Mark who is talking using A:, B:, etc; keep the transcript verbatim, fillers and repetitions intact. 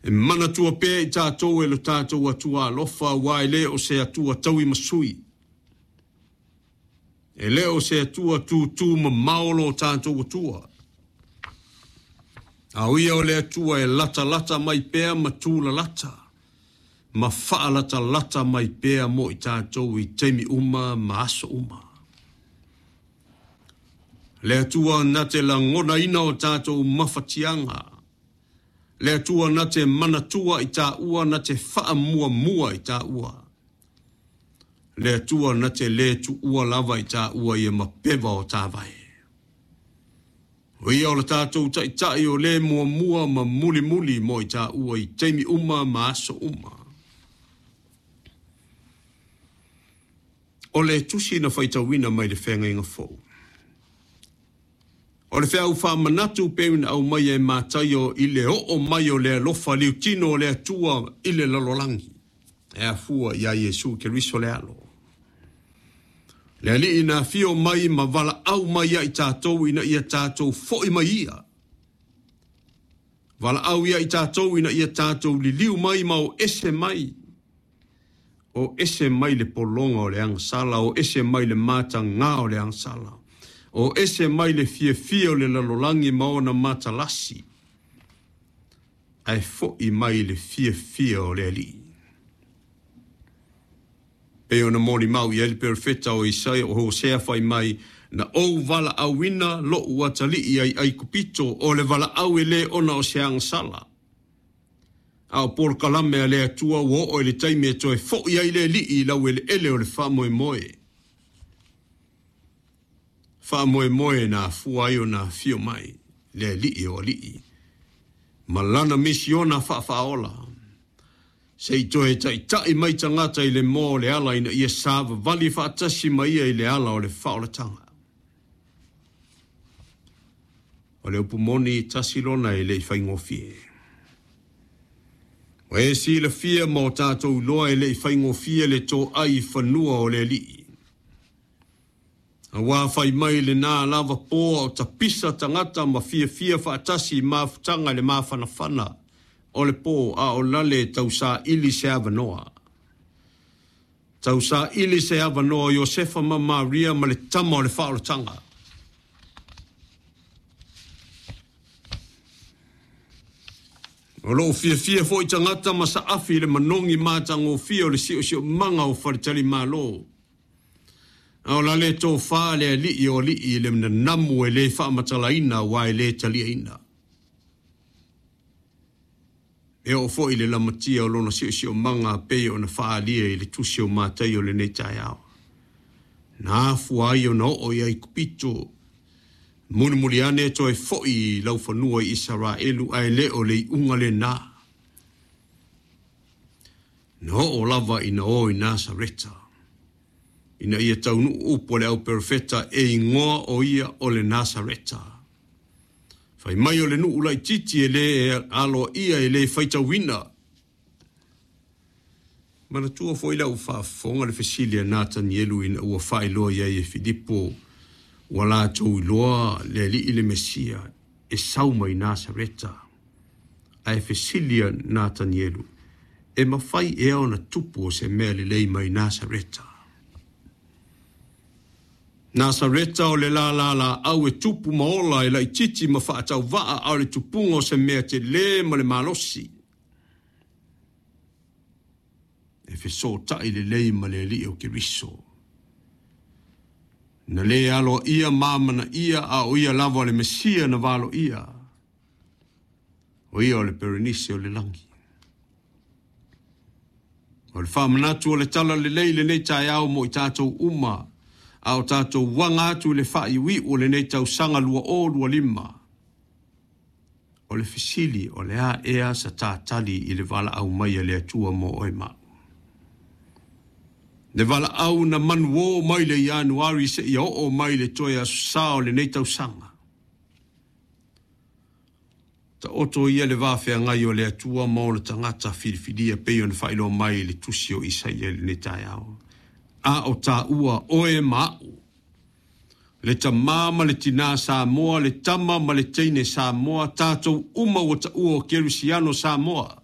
A: E manatua pea i tatou e lo tatou Atua alofa, aua e le o se Atua taui ma sui. E le o se Atua tutū mamao lo tatou Atua. A o ia o le Atua e latalata mai pea ma tūlalata, ma faalatalata mai pea mo i tatou i taimi uma ma aso uma. Le Atua na te lagonaina o tatou mafatiaga. Le Atua na te manatua i tāua, na te faamuamua i tāua. Le Atua na te le tuua lava i tāua ia mapeva o tāvae. O ia o le tatou taitai o le muamua ma mulimuli mo i tāua i taimi uma ma aso uma. O le tusi na faitauina mai le feagaiga fou. O le feau faamanatu pei ona aumaia e Mataio i le oo mai o le alofa liutino o le Atua i le lalolagi. E afua ia Iesu Keriso le alo. Le alii na afio mai ma valaau mai ia i tatou ina ia tatou foi mai ia. Valaau ia i tatou ina ia tatou liliu mai ma o ese mai. O ese mai le pologa o le agasala, o ese mai le matagā o le agasala. O ese mai le fiafia o le lalolagi ma ona matalasi. Ae foi mai le fiafia o le alii. Pei ona molimau i ai le perofeta o Isaia o Hosea fai mai, na ou valaauina lo'u atalii ai Aikupito, o le valaau e lē ona o se agasala. A o polokalame a le Atua ua oo i le taimi e toe fo'i ai le alii i laueleele o le faamoemoe. Faamoemoe na afua ai ona afio mai le alii o alii ma lana misiona faafaaola. Se i toe taitai mai tagata i le moa o le ala ina ia savavali faatasi ma ia i le ala o le faaolataga. O le upu moni tasi lona e le i faigofie. O e silafia ma o tatou iloa e le i faigofie le toai i fanua o le alii. Aua fai mai lenā lava po o tapisa tagata ma fiafia faatasi i mafutaga i le mafanafana o le po, a o lale tausaili se avanoa. Tausaili se avanoa Iosefa ma Maria ma le tama o le faaolataga. O loo fiafia foi tagata ma saafi i le manogi matagofie o le siosiomaga o faletalimalo. A o lale tofā le alii o alii i le nanamu e lē faamatalaina aua e lē taliaina. E oo foi le lamatia o lona siosiomaga pei ona faaalia i le tusi o Mataio lenei taeao. Na afua ai ona oo i Aikupito, mulimuli ane toe foi i laufanua i Isaraelu, ae le o le iuga lenā. Na oo lava ina o i Nasareta, ina ia taunuu upu o le au perofeta e igoa o ia o le Nasareta. Fai mai o le nuu laititi e lē aloaia e lē faitauina. Manatua foi lau faafofoga le fesili a Natanielu ina ua faailoa i ai e Filipo ua latou iloa le alii le Mesia e sau mai Nasareta. Ae fesili a Natanielu, e mafai ea ona tupu o se mea lelei mai Nasareta. Nasareta o le lalalaau e tupu ma ola e laititi ma faatauvaa, a o le tupuga o se mea telē ma le malosi. E fesootai lelei ma le alii o Keriso. Na lē aloaia ma amanaia, a o ia lava o le Mesia na valoia. O ia o le Perenise o le lagi. O le faamanatu o le tala lelei lenei taeao mo i tatou uma, a o tatou uaga atu i le faaiuiu o lenei tausaga lua o lua lima. O le fesili o le a ea sa tatali i le valaau mai a le Atua mo oe ma au. Le valaau na manuō mai le Ianuari seia oo mai le toe aso sa o lenei tausaga. Taoto ia le vafeagai o le Atua ma ona tagata filifilia pei ona faailoa mai i le tusi o Isaia i lenei taeao. A o tāua oe ma au, le tamā ma le tinā Samoa, le tama ma le teine Samoa, tatou uma ua taua o Kerisiano Samoa.